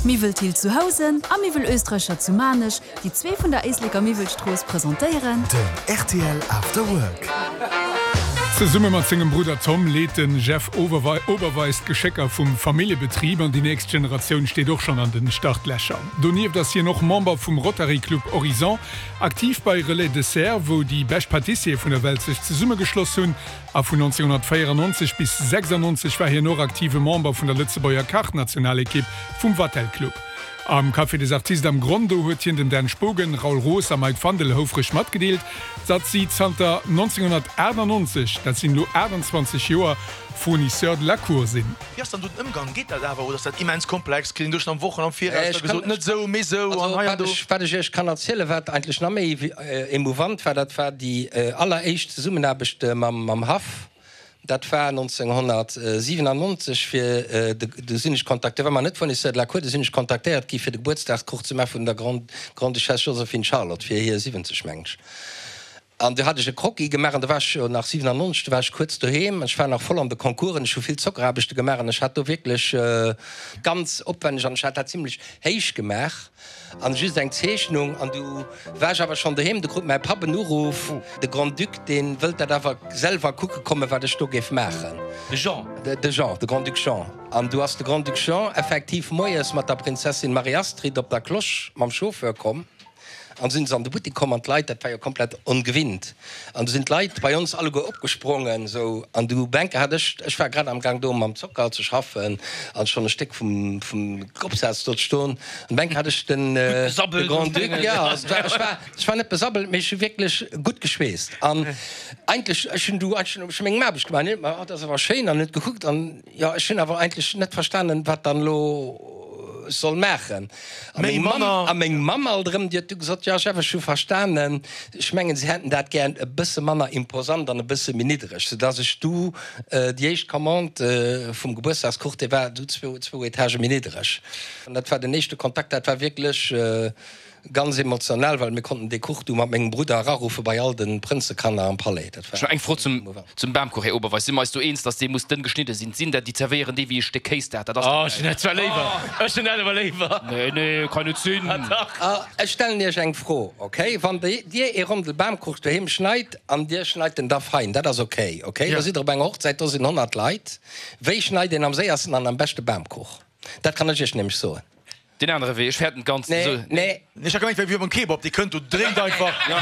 Miwwel Thill zu Housen a Miwwel Österreicher zu Maarnech, déi zwee vun der Éisleker Miwwelstrooss, presentéieren. Den rtl After Work. Zesumme mat sengem Brudder Tom leet de Jeff Oberweis d'Geschécker vum Familljebetrib an déi nächst Generatioun steet och schonn an den Startlächer. Donieft ass hien och Member vum Rotary Club Horizon, aktiv bei Relais Dessert, wou déi bescht Patissiere vun der Welt sech zesummegeschloss hunn. A vun 1994 bis 96 war hien och aktive Member vun der Lëtzebuerger Kachnationalekipp vum Vatel Club. Am Café des Artistes am Gronn, do huet hien dem Dan Spogen, Raoul Roos a Mike Fandel houfreg matgedeelt, datt si zanter 1998, dat sinn elo 28 Joer, Fournisseur de la Cour sinn. Wéi ass dann do den Ëmgang? Geet dat awer oder ass dat immens komplex? Kritt een do schonn am Wochen am Viraus da gesot, net esou, mee esou an hei an do? Wat ech Iech kann erzielen, wat eigentlech nach méi emouvant war, dat war déi alleréischt Zesummenaarbecht mam Haff. Dat war 1997, fir de, du sinn ech kontaktéiert, war mer net Fournisseur de la Cour, du sinn ech kontaktéiert gi fir de Gebuertsdagskuch ze maache vun der Grande-Duchesse Joséphine Charlotte fir hir 70, mengen ech. An du hat ech e Croquis gemaach an du war ech jo nach 97, du war ech kuerz doheem an ech war nach voll an de Concoursen, ech hu vill Zockeraarbechte gemaach an ech hat do wierklech ganz opwänneg an ech hat dat zimlech héich gemaach an just eng Zeechnung an du war ech awer schonn doheem, du krut mäi Papp en Uruff, de Grand-Duc dee wëllt dat awer selwer kucke kommen, wat ech do géif maachen. De Jean? De Jean, de Grand-Duc Jean. An du ass de Grand-Duc Jean effektiv moies mat der Prinzessin Marie-Astrid op der Cloche mam Chauffeur komm. An du sinn se an de Buttek komm an d'Leit, dat war jo komplett ongewinnt, an du sinn d'Leit bei ons alleguer opgesprongen esou an du Bänke hat ech, ech war grad amgaang do mam Zocker ze schaffen an schonn e Stéck vum vum Opsaz do ze stoen, an Bänke hat ech den de Grand-Duc, jo, also ech war, ech war net besabbelt, mee ech hu wierklech gutt geschweesst an eigentlech, ech hunn du eigentlech ech hu meng Aarbecht gemaach an hien huet mer, oh dat ass awer schéin an huet gekuckt an jo, ech hunn awer eigentlech net verstanen, wat dann elo ech soll maachen. A meng Mamm, a meng Mamm alt erëm, déi huet du gesot, jo Jeff, ech hu verstanen, ech mengen, se hätten dat gär e bësse manner imposant an e bësse méi niddereg, soudass ech du déi éischt Commande vum Gebuertsdagskuch, dee war du zwou Etagë méi niddereg. An dat war den éischte Kontakt, dat war wierklech Ganz emotional, well mir konnten dee Kuch du mat mengem Brudder eraruffe bei all de Prënzekanner am Palais. Dat war Ech hu eng Fro zum emouvant. zum Bamkuch, Här Oberweis. Si mer eis do eens, dass dee muss dënn geschnidde sinn? Sinn der, déi zerwéieren dee wéi e Stéck Kéis dat? Dat ass Oh, ech hunn dat zwar léiwer. Ech hunn dat awer léiwer. Nee, nee, kann net sinn. Ah, dach. Ah, ech stellen Iech eng Fro, okay? Wann Dir ee Rondel Bamkuch doheem schneit an Dir schneit en da fein, dat ass okay, okay? Da sidd Der op enger Hochzäit, do sinn 100 Leit. Wéi schneit een am séiersten an am beschte Bamkuch? Dat kann ech Iech nämlech soen. Deen anere Wee, ech fäerten d'ganz. Nee, nee. Ech hat gemengt, wéi beim Kebab, dee kënnt do, dréint einfach.